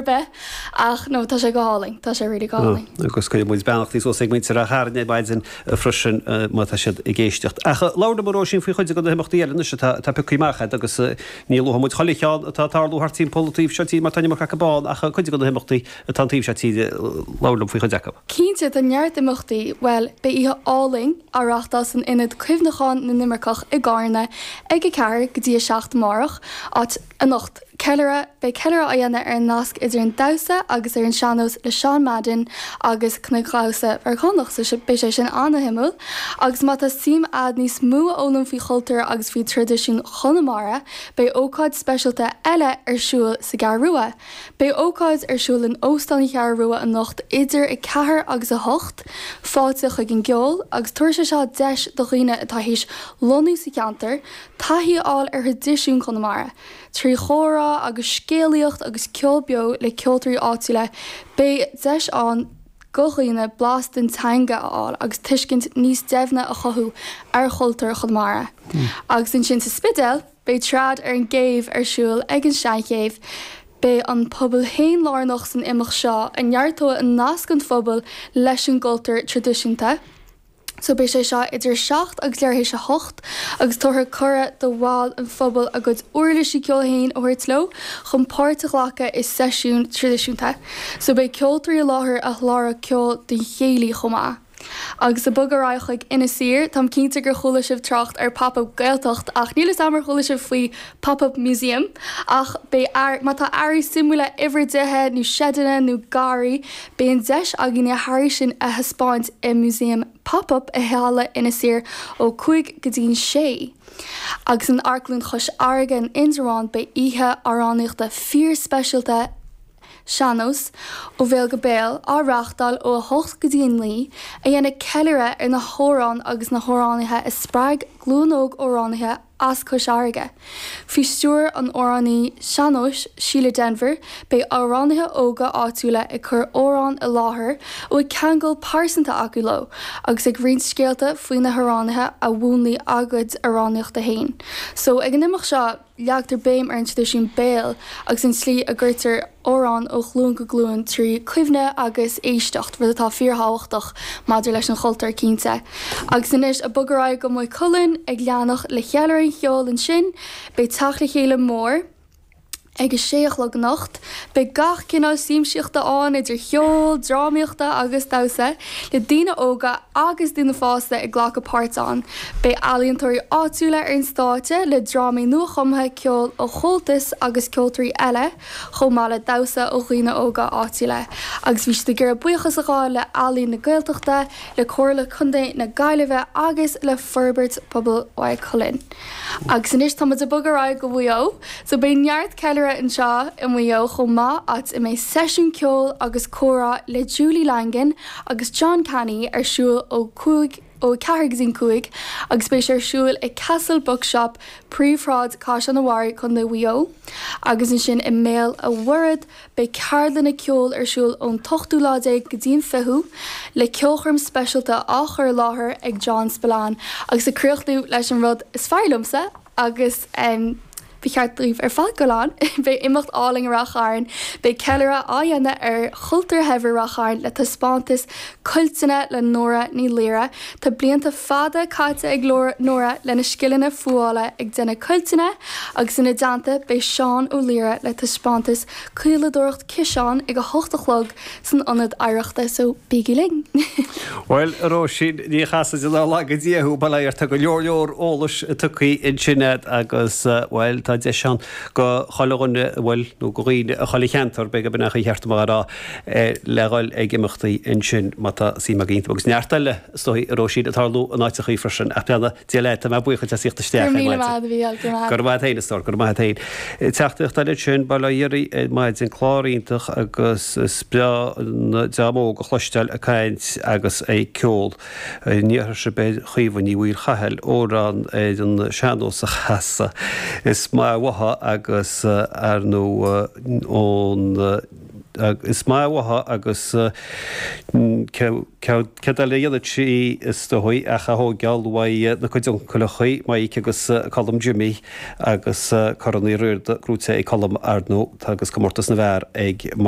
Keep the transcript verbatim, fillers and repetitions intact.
Bith ach no tá sé go hálainn, tá sé really go hálainn. Agus cuirfidh muid beannachtaí suas ag muintir Ráth Chairn ar maidin freisin má tá siad ag éisteacht. Ach labhair liom a Róisín faoi chuid de na himeachtaí eile anois atá atá pioctha amach agat agus ní luafaidh muid chuile cheann atá ag tarlú thart timpeall an taobh seo tíre mar tá an iomarca acu ann ach cuid de na himeachtaí atá an taobh seo tíre labhair liom faoi chuid acu. Cinnte tá neart imeachtaí, bhuel beidh oíche álainn á reáchtáil san Ionad Cuimhneacháin na nImirceach i gCarna ag a ceathair go dtí a seacht amárach, áit anocht ceiliúradh beidh ceiliúradh á dhéanamh ar an nasc idir an damhsa agus ar an sean-nós le Seán Madden agus Cnagdhamhsa Mheiriceánach so beidh sé sin an-shuimiúil agus má tá suim agat níos mó a fhoghlaim faoi chultúr agus faoi traidisiún Chonamara beidh ócáid speisialta eile ar siúl sa gCeathrú Rua. Beidh ócáid ar siúl in Óstán an Cheathrú Rua anocht idir a ceathair agus a hocht, fáilte chuig an gceol agus tabharfaidh sé seo deis do dhaoine atá théis lonnú sa cheantar taithí a fháil ar thraidisiún Chonamara. Trí chomhrá agus scéalaíocht agus ceol beo le ceoltóirí áitiúla, beidh deis ann do dhaoine blas den teanga a fháil agus tuiscint níos doimhne a chothú ar chultúr Chonamara. Agus ansin sa Spidéal, beidh trad ar an gcéibh ar siúl ag an Seanchéibh. Beidh an pobal féin lárnach san imeacht seo a neartóidh an nasc an phobail leis an gcultúr traidisiúnta. So beidh sé seo idir seacht agus leathuair théis a hocht agus tabharfar cuireadh do bhaill an phobail a gcuid uirlisí ceoil féin a thabhairt leo chun páirt a ghlacadh i seisiún traidisiúnta. So beidh ceoltóirí i láthair a sholáthróidh ceol don chéilí chomh maith. Agus ag bogadh ar aghaidh chuig Inis Oírr, táim cinnte gur chuala sibh trácht ar Pop-up Gaeltacht ach níl fhios agam ar chuala sibh faoi Pop-up Museum ach beidh ear má tá earraí suimiúla uimhir dtithe nó seideanna nó garraí beidh an deis againn na hearraí sin a thaispeáint i Museum Pop-up i Halla Inis Oírr ó cúig go dtí an sé. Agus in Amharclann Chois Fharraige in Indreabhán beidh oíche amhránaíochta fíorspeisialta sean-nós ó bhéal go béal á reáchtáil ó a hocht go dtí a naoi a dhéanfaidh ceiliúradh ar na hamhráin agus na hamhránaithe a spreag glúin óg amhránaithe as Cois Fharraige. Faoi stiúir an amhránaí sean-nóis Síle Denvir, beidh amhránaithe óga áitiúla ag cur amhrán i láthair a bhfuil ceangal pearsanta acu leo agus ag roinnt scéalta faoi na hamhránaithe a mhúnlaigh a gcuid amhránaíochta féin. So ag an imeacht seo leagtar béim ar an traidisiún béil agus an tslí a gcuirtear amhráin ó ghlúin go glúin trí chuimhne agus éisteacht, rud atá fíorthábhachtach maidir leis an chultúr cinnte. Agus anois ag bogadh ar aghaidh go Maigh Cuilinn ag leanacht le ceiliúradh an cheoil ansin, beidh teacht le chéile mór ag a sé a chlog anocht. Beidh gach cineál siamsaíochta ann idir cheol, drámaíochta agus damhsa, le daoine óga agus daoine fásta ag glacadh páirt ann. Beidh ealaíontóirí áitiúla ar an stáitse le drámaí nuachumtha ceoil ó Chomhaltas agus ceoltóirí eile, chomh maith le damhsa ó dhaoine óga áitiúla. Agus bhí siad ag iarraidh buíochas a ghabháil le Ealaín na Gaeltachta, le Comhairle Contae na Gaillimhe agus le Forbairt Pobail Mhaigh Cuilinn. Agus anois tá muid ag bogadh ar aghaidh go Maigh Eo, so beidh neart ceiliúradh anseo i Maigh Eo chomh maith, áit a mbeidh seisiún ceoil agus comhrá le Julie Langan agus John Canny ar siúl ó cúig ó a ceathair go dtí an cúig agus beidh sé ar siúl i Castle Bookshop, Príomhshráid Caisleán an Bharraigh, Contae Mhaigh Eo. Agus ansin i mBéal a' Mhuirthead beidh ceardlanna ceoil ar siúl ón t-ochtú lá déag go dtí an fichiú, le ceolchoirm speisialta á chur i láthair ag John Spillane agus ag críochnú leis an rud is fearr liomsa agus ba cheart daoibh ar fad dul ann, beidh imeacht álainn i Rath Chairn, beidh ceiliúradh á dhéanamh ar chultúr shaibhir Rath Chairn le taispeántas cuilteanna le Nóra Ní Laoire. Tá blianta fada caite ag Nóra lena scileanna fuála ag déanamh cuilteanna agus ina dteannta beidh Seán Ó Laoire le taispeántas caoladóireacht ciseán ag a hocht a chlog san Ionad Oidhreachta so bígí linn! Bhuel, a Róisín, ní Chasaide ná laga Dia thú, bail ó Dhia ort, tá go leor leor eolais tugtha ansin agat agus, bhuel, tá deis ann go chuile dhuine, bhuel, nó go dhaoine i chuile cheantar, b'fhéidir gurb in é an chaoi cheart dom a rá, le dhul ag imeachtaí ansin má tá suim agaibh iontu. Agus neart eile, is dóigh, a Róisín, ag tarlú in áiteachaí freisin. Ach beannacht Dé leat, tá mé buíoch duit as theacht isteach ar maidin. Go raibh míle maith agat, a Mhícheáil, go raibh maith agat. Go raibh maith agat féin, a stór, go raibh maith agat féin. Teachtaireacht eile ansin, bail ó Dhia oraibh ar maidin, clár iontach agus is breá an dream óg a chloisteáil ag caint agus ag ceol. An iarrfadh sibh ar Chaoimhe Ní Mhaolchathail amhrán ar an sean-nós a chasadh? Is maith uathu agus ar ndóigh ón. Is maith uathu agus céard eile a dhéanfadh sí is dóigh ach a thóigeáil uaidh na cuid uncaileachaí, Mike agus Colm Jimmy agus Corn Uí Riada gnóite ag Colm ar ndóigh agus comórtas na bhfear ag Mike.